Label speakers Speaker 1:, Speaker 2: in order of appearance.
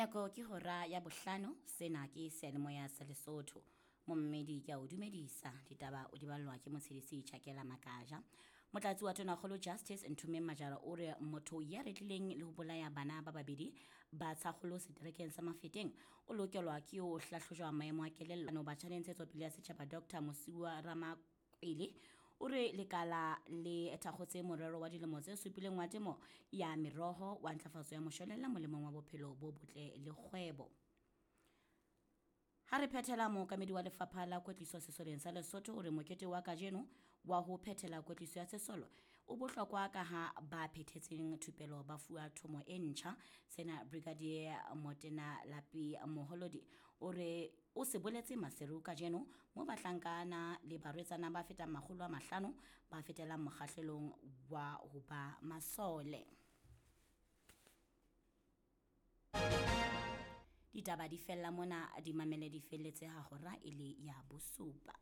Speaker 1: Nako ke hora ya bohlano, sena ke seyalemoya sa Lesotho. Mommedi ke a o dumedisa, ditaba o di ballwa ke motshedisi Chakela Makaja. Motlatsi wa Tonakgolo Justice Nthomeng Majara o re motho ya retlileng le ho bolaya bana ba babedi ba tshakgolo seterekeng sa Mafeteng o lokelwa ke ho hlahlojwa maemo a kelello. Batjha le ntshetsopele ya setjhaba Dr. Mosiuwa Ramakwele o re lekala le thakgotse morero wa dilemo tse supileng wa temo ya meroho wa ntlafatso ya moshwelella molemong wa bophelo bo botle le kgwebo. Ha re phethela, mookamedi wa lefapha la kwetliso sesoleng sa Lesotho o re mokete wa kajeno wa ho phethela kwetliso ya sesolo o bohlokwa ka ha ba phethetseng thupelo ba fuwa thomo e ntjha. Sena Brigadier Motena Lapi Moholodi o re o se boletse Maseru kajeno mo bahlankana le barwetsana ba fetang 500 ba fetelang mokgahlelong wa ho ba masole. Ditaba di fella mona, di mamele di felletse ha hora e le ya bosupa.